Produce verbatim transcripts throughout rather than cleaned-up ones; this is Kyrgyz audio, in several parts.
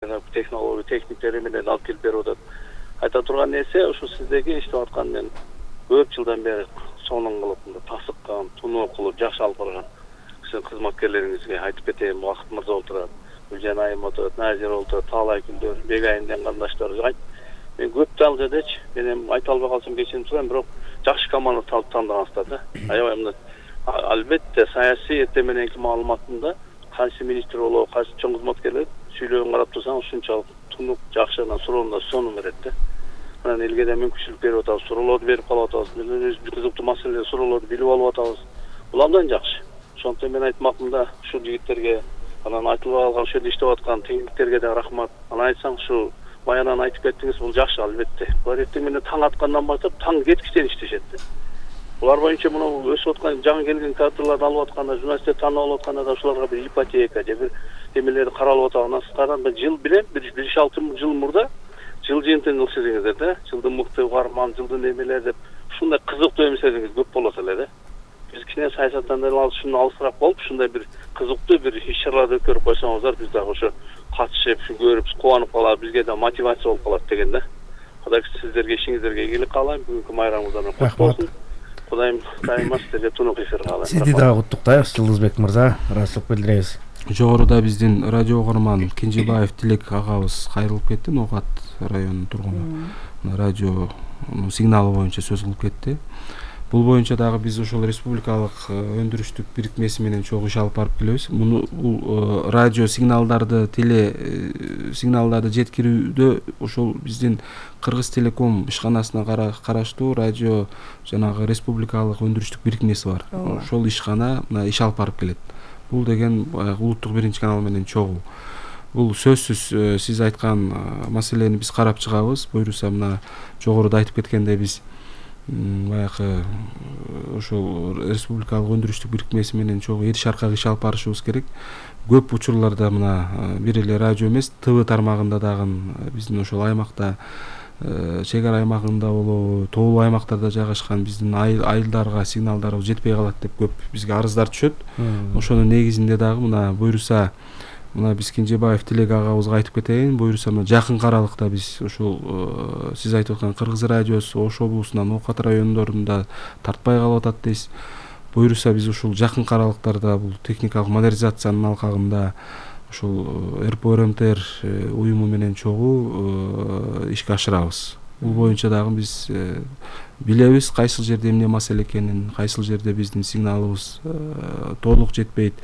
технология техниктери менен алып келип берип атат. Айта турган нерсе ушу сиздерге иштеп аткан мен көп жылдан бери сонун кылып мындай тасыккан, туноо кылып жакшы алып барган сиздин кызматкерлериңизге айтып кетейин. Бакыт мырза отурат, Гүлжан айым отурат, Назира отурат, таалай күндөр, Бегайымдын кандаштары. Мен көп дагычы мен эми айта албай калсам кечирип турам, бирок жакшы команда тандагансыздар да. Аябай мындай албетте саясий эртең мененки маалыматында кайсы министр болобу, кайсы чоң кызматкерлер сүйлөгөн карап турсаң ушунчалык тунук жакшы гана суроондо сонун берет да. Анан элге да мүмкүнчүлүк берип атабыз, суроолорду берип калып атабыз. Өзүбүз кызыктуу маселелер, суроолорду билип алып атабыз. Бул абдан жакшы. Ошондуктан мен айтмакмын да ушул жигиттерге, анан айтылбай калган ушул жерде иштеп аткан техниктерге да рахмат. Анан айтсаң ушу баянан айтып кеттиңиз, бул жакшы албетте. Булар эртең менен таң аткандан баштап таң кеткичтен иштешет да. Булар боюнча мына өсүп аткан жаңы келген кадрларды алып атканда, журналисттер таанып алып атканда да ушуларга бир ипотека же бир эмелерди каралып атат. Анан сыздардан бир жыл билем, бир беш алты жыл мурда жыл жыйынтыгын ылчыдыңыздар да. Жылдын мыкты каарман, жылдын эмелер деп ушундай кызыктуу эмселериңиз көп болот эле да. Биз кичине саясаттан ушуну алысыраак болуп, ушундай бир кызыктуу бир иш-чараларды өткөрүп койсоңуздар, биз дагы ошо катышып, көрүп, кубанып калабыз, бизге да мотивация болуп калат деген да. Кудай сиздерге ишиңиздерге ийгилик каалайм. Бүгүнкү майрамыңыздар куттук болсун. Кудайым дайыма сиздерге тунук эфир каалайм. Сизди дагы куттуктайбыз, Жылдызбек мырза. Ыраазычылык билдиребиз. Жогоруда биздин радио угарман Кенжебаев Тилек агабыз кайрылып кетти, Ноокат районунун тургуну. Радио сигналы боюнча сөз кылып кетти. Бул боюнча дагы биз ошол республикалык өндүрүштүк бирикмеси менен чогуу иш алып барып келебиз. Муну бул радио сигналдарды, теле сигналдарды жеткирүүдө ошол биздин Кыргыз Телеком ишканасына караштуу радио жанагы республикалык өндүрүштүк бирикмеси бар. Ошол ишкана мына иш алып барып келет. Бул деген улуттук биринчи канал менен чогуу. Бул сөзсүз сиз айткан маселени биз карап чыгабыз. Буюрса мына жогоруда айтып кеткендей биз баягы ошол республикалык өндүрүштүк бирикмеси менен чогуу эри шаркак иш алып барышыбыз керек. Көп учурларда мына бир эле радио эмес, ТВ тармагында дагы биздин ошол аймакта чек ара аймагында болобу, тоолуу аймактарда жайгашкан биздин айылдарга сигналдар жетпей калат деп көп бизге арыздар түшөт. Ошонун негизинде дагы мына буюрса мына биз Кенжебаев Тилек агабызга айтып кетейин, буюрса мына жакын аралыкта биз ушул сиз айтып аткан Кыргыз радиосу Ош облусунда Ноокат райондорунда тартпай калып атат дейсиз. Буюрса биз ушул жакын аралыктарда бул техникалык модернизациянын алкагында ушул эр пэ о эр эм тэ эр уюму менен чогуу ишке ашырабыз. Бул боюнча дагы биз билебиз кайсыл жерде эмне маселе экенин, кайсыл жерде биздин сигналыбыз толук жетпейт.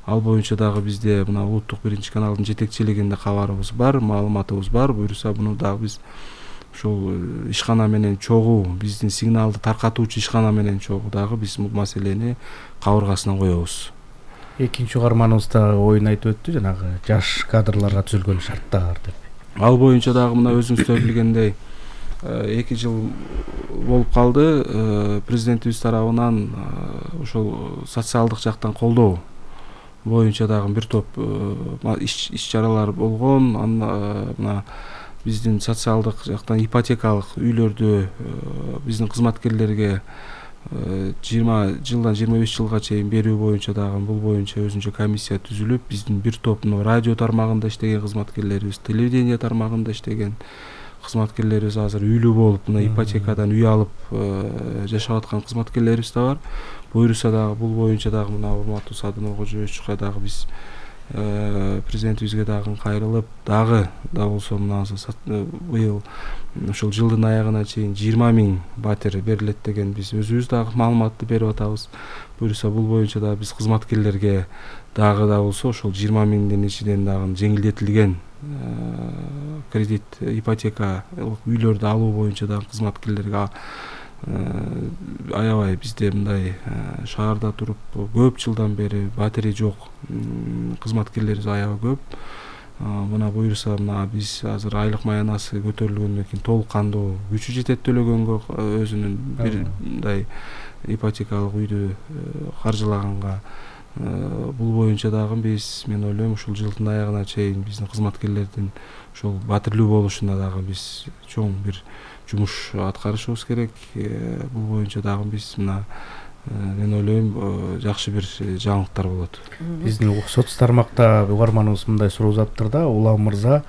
Ал боюнча дагы бизде мына улуттук биринчи каналдын жетекчилигинде кабарыбыз бар, маалыматыбыз бар. Буюрса буну дагы биз ушул ишкана менен чогуу, биздин сигналды таркатуучу ишкана менен чогуу дагы биз бул маселени кабыргасына коебуз. Экинчи угарманыбыз да оюн айтып өттү, жанагы жаш кадрларга түзүлгөн шарттар деп. Ал боюнча дагы мына өзүңүздөр билгендей эки жыл болуп калды. Президентибиз тарабынан ошол социалдык жактан колдоо боюнча дагы бир топ иш-чаралар болгон. Мына биздин социалдык жактан ипотекалык үйлөрдү биздин кызматкерлерге жыйырма жылдан жыйырма беш жылга чейин берүү боюнча дагы бул боюнча өзүнчө комиссия түзүлүп, биздин бир топ радио тармагында иштеген кызматкерлерибиз, телевидение тармагында иштеген кызматкерлерибиз азыр үйлүү болуп, мына ипотекадан үй алып жашап аткан кызматкерлерибиз да бар. Буюрса дагы бул боюнча дагы мына урматтуу Садынов Кожоевичке дагы биз президентибизге дагы кайрылып, дагы да болсо мына быйыл ушул жылдын аягына чейин жыйырма миң батир берилет деген биз өзүбүз дагы маалыматты берип атабыз. Буюрса бул боюнча дагы биз кызматкерлерге дагы да болсо ошол жыйырма миңдин ичинен дагы жеңилдетилген кредит, ипотекалык үйлөрдү алуу боюнча дагы кызматкерлерге аябай бизде мындай шаарда туруп көп жылдан бери батири жок кызматкерлерибиз аябай көп. Мына буюрса мына биз азыр айлык маянасы көтөрүлгөндөн кийин толук кандуу күчү жетет төлөгөнгө, өзүнүн бир мындай ипотекалык үйдү каржылаганга. Бул боюнча дагы биз мен ойлойм ушул жылдын аягына чейин биздин кызматкерлердин ушул батирлүү болушуна дагы биз чоң бир жумуш аткарышыбыз керек. Бул боюнча дагы биз мына мен ойлойм жакшы бир жаңылыктар болот. Биздин соц тармакта угарманыбыз мындай суроо узатыптыр да, Улам мырза,